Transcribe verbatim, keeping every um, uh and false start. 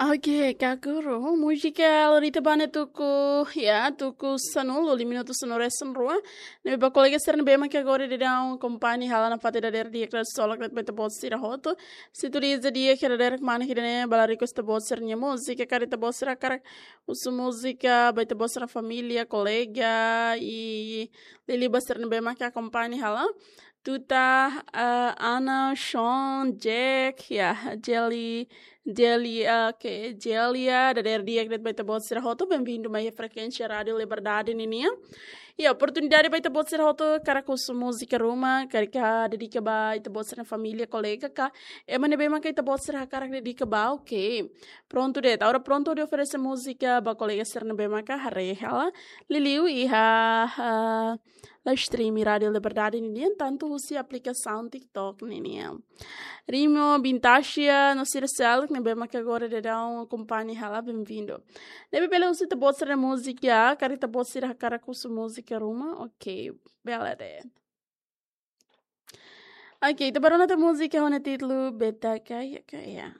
Oke, kakuru. Múzika halo ita bane tuku, ya, tuku sanulu, lima minutu sanulu resin rua. Ne'ebé ba kolega sira ne'ebé mak agora daudaun akompaña hela nafatin dadeer di'ak, kera solok ne'e ba ita-boot sira hotu. Sintoniza di'ak, kera dadeer mana ida-ne'e ba la request ita-boot sira-nia múzika, karik ita-boot sira hakarak husu múzika ba ita-boot sira família, kolega, i liuliu ba sira ne'ebé mak akompaña hela. Tuta, ah, Ana, Sean, Jack, ya, Jelly, Jelly, ah, oke, Jelly, ya, dadeer di'ak de'it ba ita-boot sira hotu, bem-vindo mai frekuénsia Rádio Liberdade ninian. Ya, oportunidade ba ita-boot sira hotu hakarak husu múzika ruma, karik dedika ba ita-boot sira família, kolega ka ema ne'ebé mak ita-boot sira hakarak dedika ba, oke. Prontu de'it, agora prontu hodi oferese múzika ba kolega sira ne'ebé mak haree hela, liuliu iha, ah, live stream Rádio Liberdade ninian, tantu husi aplikasaun TikTok ninian. Rimo, Bintasia, no sira seluk ne'ebé mak agora daudaun akompaña hela, bem-vindo. Ne'ebé bele husu ita-boot sira múzika, karik ita-boot sira hakarak husu múzika ruma, oke, bele de'it. Oke, ita bá rona tiha múzika ho nia títulu Beta Kaya Kaya.